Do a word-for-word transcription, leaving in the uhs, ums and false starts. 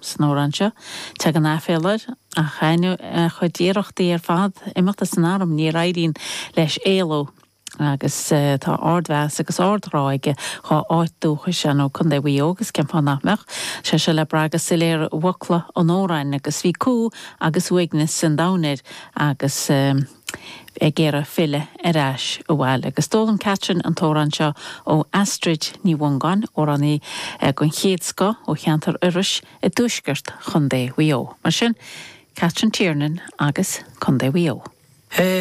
San amhrán seo tagann aiféala air ach ainneoin a chuid iarrachtaí ar fad imeacht as an arm níor éirigh leis éaló agus uh, tá ardmheas agus ardghrá aige dá áit dúchais nó Contae Mhaigh Eo agus cén fáth nach mbeadh sé seo le brath go soiléir i bhfocla an amhráin agus bhí cumha agus uaigneas an domhain air agus uh, ag iarraidh filleadh ar ais abhaile. Agus d'fhoghlaim Catherine an t-amhrán seo ó Astrid Ní Mhongáin amhránaí den chéad scoth ó cheantar Iorrais i dtuaisceart Chontae Mhaigh Eo. Mar sin, Catherine Tiernan agus Contae Mhaigh Eo. Hey.